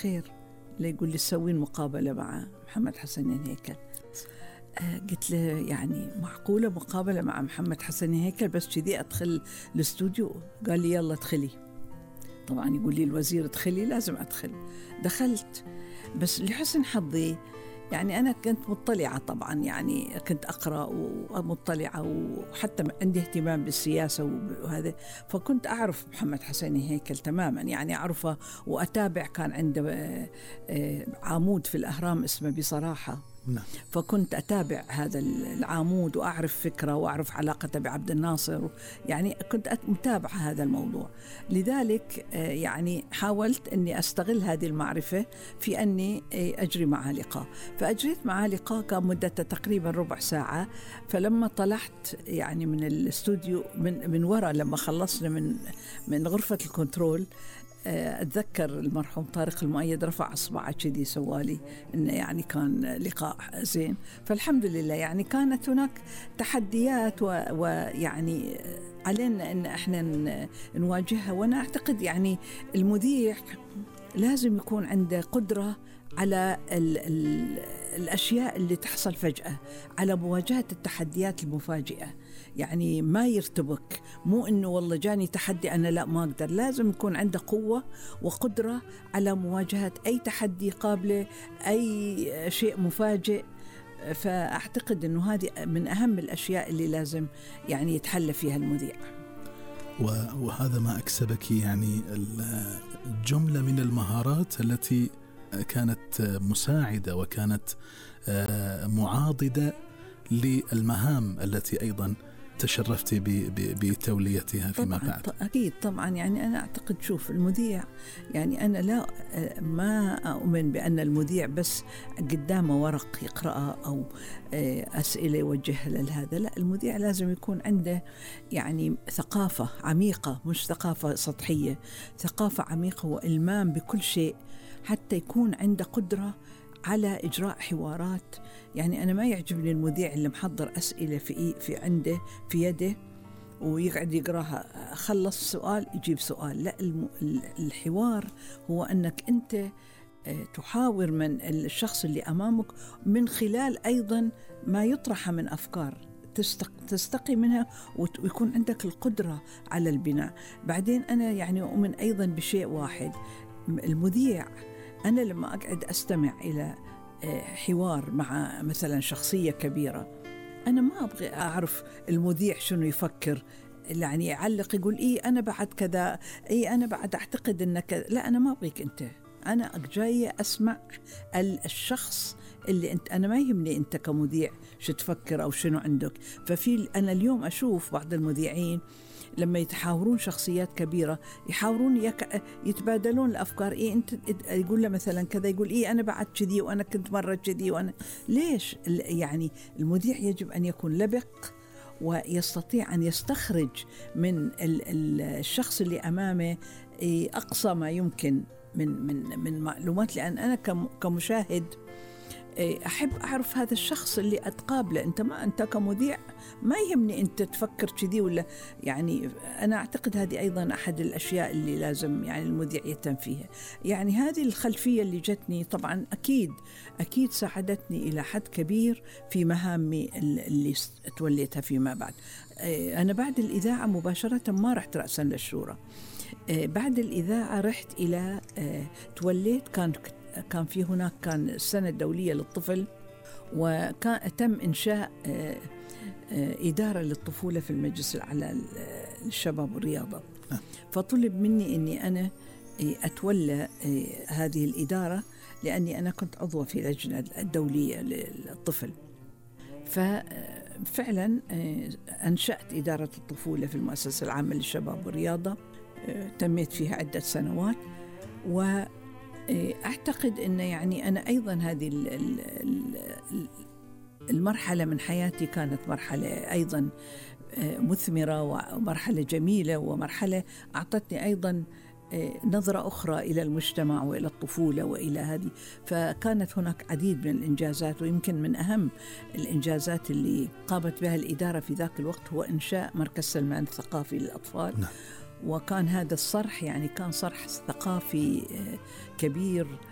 خير، اللي يقول لي تسوين مقابلة مع محمد حسن هيكل. قلت له يعني معقولة مقابلة مع محمد حسن هيكل بس كذي أدخل الاستوديو؟ قال لي يلا ادخلي. طبعا يقول لي الوزير ادخلي، لازم أدخل. دخلت، بس لحسن حظي يعني أنا كنت مطلعة طبعا، يعني كنت أقرأ ومطلعة وحتى عندي اهتمام بالسياسة وهذا، فكنت أعرف محمد حسن هيكل تماما، يعني أعرفه وأتابع. كان عنده عمود في الأهرام اسمه بصراحة، فكنت أتابع هذا العمود وأعرف فكرة وأعرف علاقته بعبد الناصر، يعني كنت متابعة هذا الموضوع. لذلك يعني حاولت أني أستغل هذه المعرفة في أني أجري معه لقاء. فأجريت معه لقاء كان مدته تقريبا ربع ساعة. فلما طلعت يعني من الاستوديو من وراء، لما خلصنا من غرفة الكنترول، أتذكر المرحوم طارق المؤيد رفع أصبعه كذي سوالي إنه يعني كان لقاء زين. فالحمد لله يعني كانت هناك تحديات ويعني علينا إن إحنا نواجهها. وأنا أعتقد يعني المذيع لازم يكون عنده قدرة على الأشياء اللي تحصل فجأة، على مواجهة التحديات المفاجئة، يعني ما يرتبك. مو إنه والله جاني تحدي أنا لا ما أقدر، لازم يكون عنده قوة وقدرة على مواجهة أي تحدي قابله، أي شيء مفاجئ. فأعتقد إنه هذه من أهم الأشياء اللي لازم يعني يتحلى فيها المذيع. وهذا ما أكسبك يعني الجملة من المهارات التي كانت مساعدة وكانت معاضدة للمهام التي أيضا تشرفت بتوليتها فيما بعد. أكيد طبعا، يعني أنا أعتقد شوف المذيع، يعني أنا لا ما أؤمن بأن المذيع بس قدامه ورق يقرأه أو أسئلة يوجهها لهذا. لا، المذيع لازم يكون عنده يعني ثقافة عميقة، مش ثقافة سطحية، ثقافة عميقة وإلمام بكل شيء، حتى يكون عنده قدرة على إجراء حوارات. يعني أنا ما يعجبني المذيع اللي محضر أسئلة في عنده في يده ويقعد يقراها، خلص سؤال يجيب سؤال. لا، الحوار هو أنك أنت تحاور من الشخص اللي أمامك من خلال أيضا ما يطرح من أفكار تستقي منها، ويكون عندك القدرة على البناء. بعدين أنا يعني أؤمن أيضا بشيء واحد، المذيع أنا لما أقعد أستمع إلى حوار مع مثلا شخصية كبيرة، أنا ما أبغى أعرف المذيع شنو يفكر، يعني يعلق يقول إيه أنا بعد كذا، إيه أنا بعد أعتقد إنك، لا أنا ما أبغيك أنت، أنا جاية أسمع الشخص اللي أنت، أنا ما يهمني أنت كمذيع شو تفكر أو شنو عندك. أنا اليوم أشوف بعض المذيعين لما يتحاورون شخصيات كبيرة يحاورون يتبادلون الأفكار. إيه أنت يقول له مثلا كذا، يقول إيه أنا بعد كذي وأنا كنت مرة كذي وأنا ليش. يعني المذيع يجب أن يكون لبق ويستطيع أن يستخرج من الشخص اللي أمامه أقصى ما يمكن من معلومات. لأن أنا كمشاهد أحب أعرف هذا الشخص اللي أتقابله. أنت كمذيع ما يهمني أنت تفكر كذي ولا، يعني أنا أعتقد هذه أيضا أحد الأشياء اللي لازم يعني المذيع يهتم فيها. يعني هذه الخلفية اللي جتني طبعا أكيد ساعدتني إلى حد كبير في مهامي اللي توليتها فيما بعد. أنا بعد الإذاعة مباشرة ما رحت رأسا للشورى. بعد الإذاعة رحت إلى توليت، كان في هناك كان السنة الدولية للطفل، وكان تم إنشاء إدارة للطفولة في المجلس الأعلى للشباب والرياضة. فطلب مني أني أنا أتولى هذه الإدارة، لأني أنا كنت عضوة في لجنة الدولية للطفل. ففعلا أنشأت إدارة الطفولة في المؤسسة العامة للشباب والرياضة، تميت فيها عدة سنوات. وأعتقد أن يعني أنا أيضا هذه المرحلة من حياتي كانت مرحلة أيضا مثمرة ومرحلة جميلة، ومرحلة أعطتني أيضا نظرة أخرى إلى المجتمع وإلى الطفولة وإلى هذه. فكانت هناك عديد من الإنجازات، ويمكن من أهم الإنجازات اللي قامت بها الإدارة في ذاك الوقت هو إنشاء مركز سلمان الثقافي للأطفال. وكان هذا الصرح يعني كان صرح ثقافي كبير